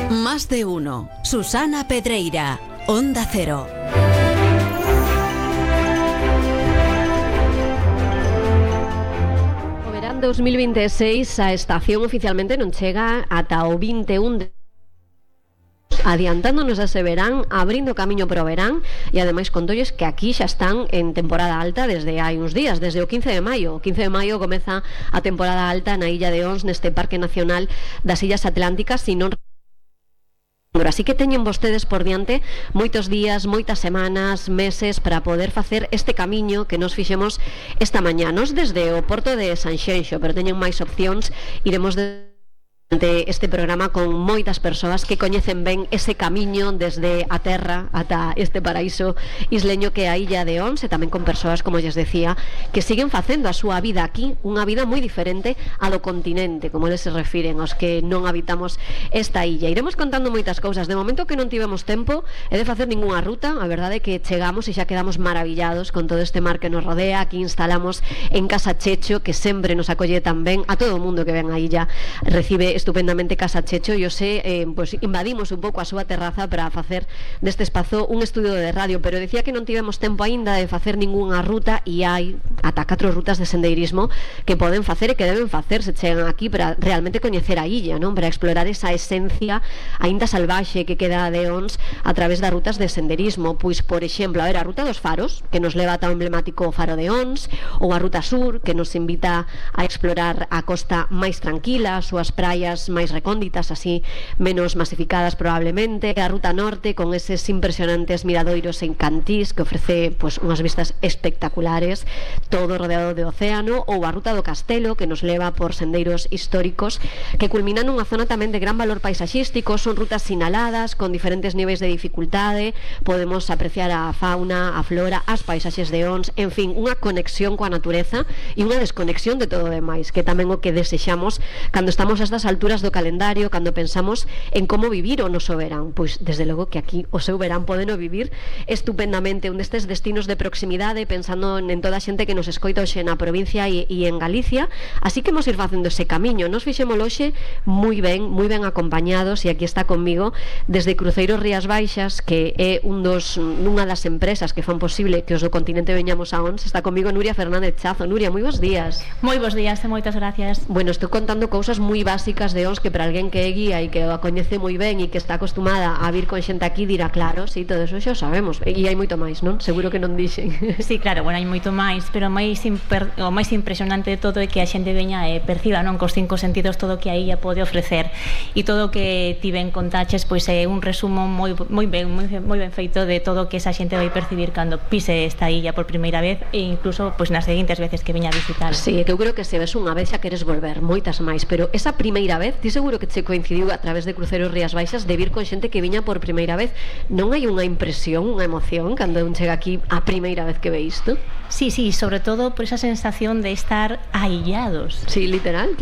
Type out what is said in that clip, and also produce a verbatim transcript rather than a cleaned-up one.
Más de uno. Susana Pedreira, Onda Cero. O verán dos mil veintiséis a estación oficialmente non chega ata o vinte e un de adiantándonos a ese verán, abrindo camiño para o verán, e ademais contolles que aquí xa están en temporada alta desde hai uns días, desde o quince de maio. O quince de maio comeza a temporada alta na Illa de Ons, neste Parque Nacional das Illas Atlánticas, e non así que teñen vostedes por diante moitos días, moitas semanas, meses para poder facer este camiño que nos fixemos esta mañá. Nos desde o porto de Sanxenxo, pero teñen máis opcións. Iremos de de este programa con moitas persoas que coñecen ben ese camiño desde a terra ata este paraíso isleño que é a Illa de Ons, e tamén con persoas, como lles decía, que siguen facendo a súa vida aquí, unha vida moi diferente a do continente, como eles se refiren aos que non habitamos esta illa. Iremos contando moitas cousas. De momento que non tivemos tempo é de facer ningunha ruta. A verdade é que chegamos e xa quedamos maravillados con todo este mar que nos rodea. Aquí instalamos en Casa Checho, que sempre nos acolle tan ben. A todo o mundo que ven a illa recibe estupendamente Casa Checho, e hoxe eh, pues, invadimos un pouco a súa terraza para facer deste espazo un estudio de radio, pero decía que non tivemos tempo aínda de facer ningunha ruta, e hai ata catro rutas de sendeirismo que poden facer e que deben facer se chegan aquí para realmente coñecer a illa, non? Para explorar esa esencia aínda salvaxe que queda de Ons a través das rutas de sendeirismo. Pois, por exemplo, a ver, a ruta dos faros, que nos leva ata o emblemático Faro de Ons, ou a ruta sur, que nos invita a explorar a costa máis tranquila, as súas praias máis recónditas, así menos masificadas probablemente, a ruta norte con eses impresionantes miradoiros en Cantís que ofrece pues, unhas vistas espectaculares, todo rodeado de océano, ou a ruta do Castelo, que nos leva por sendeiros históricos que culminan nunha zona tamén de gran valor paisaxístico. Son rutas sinaladas con diferentes niveis de dificultade, podemos apreciar a fauna, a flora, as paisaxes de Ons, en fin, unha conexión coa natureza e unha desconexión de todo o demais, que tamén o que desexamos cando estamos a estas alturas do calendario, cando pensamos en como vivir o noso verán. Pois desde logo que aquí o seu verán podeno vivir estupendamente, un destes destinos de proximidade, pensando en toda a xente que nos escoita hoxe na provincia e, e en Galicia. Así que imos ir facendo ese camiño. Nos fixemos hoxe moi ben, moi ben acompañados, e aquí está conmigo desde Cruceiros Rías Baixas, que é un dos unha das empresas que fan posible que os do continente veñamos a Ons. Está conmigo Nuria Fernández Chazo. Nuria, moi bons días. Moi bons días e moitas gracias. Bueno, estou contando cousas moi básicas de Ons que para alguén que é guía e que a coñece moi ben e que está acostumada a vir con xente aquí dirá, claro, sí, todo eso xa o sabemos, e hai moito máis, non? Seguro que non dixen. Sí, claro, bueno, hai moito máis, pero máis imper... o máis impresionante de todo é que a xente veña e perciba, non, cos cinco sentidos todo o que a illa pode ofrecer, e todo o que ti ben contaches, pois é un resumo moi moi ben, moi, moi ben feito de todo o que esa xente vai percibir cando pise esta illa por primeira vez, e incluso pois nas seguintes veces que veña a visitar. Sí, que eu creo que se ves unha vez xa queres volver, moitas máis, pero esa primeira vez, ti seguro que che coincidiu a través de Cruceiros Rías Baixas de vir con xente que viña por primeira vez. Non hai unha impresión, unha emoción cando un chega aquí a primeira vez que ve isto? Sí, sí, sobre todo por esa sensación de estar aillados. Sí, literal.